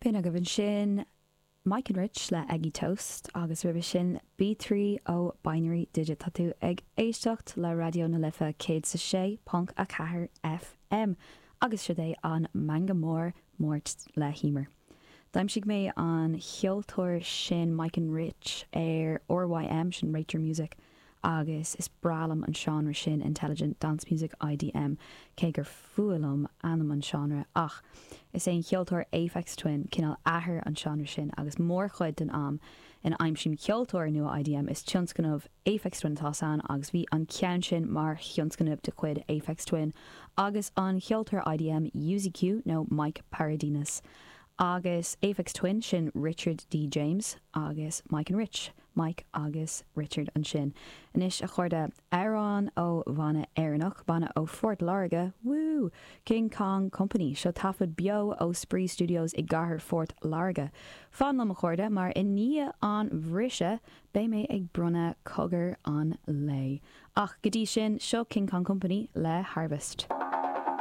B'in agaibh ansin Mike and Rich le Eggy Toast agus roimhe sin B3 ó Binary Digit. Tá tú ag éisteacht le Raidió na Life 106.4 FM agus siod é an Meangadh Mór Máirt le hEmer. D'aimsigh mé an cheoltóir sin Mike and Rich ar RYM, sin Rate Your Music, agus is breá liom an seánra sin Intelligent Dance Music, IDM, cé gur fuath liom ainm an seánra, ach is é an cheoltóir Aphex Twin cineál athair an seánra sin agus mórchuid den am ina aimsím ceoltóir nua IDM is tionscnamh Aphex Twin atá ann agus bhí an ceann sin mar thionscnamh de chuid Aphex Twin agus an cheoltóir IDM UZQ nó Mike Paradinas agus Aphex Twin sin Richard D James agus Mike and Rich. Mike agus Richard ansin. Anois, a chairde, amhrán ó bhanna Éireannach, banna ó Phort Láirge, woo! King Kong Company. Seo taifead beo ó Spraoi Studios i gcathair Phort Láirge. Fan liom, a chairde, mar i ndiaidh an bhriseadh, beidh mé ag bronnadh cogar an lae. Ach go dtí sin, seo King Kong Company le Harvest.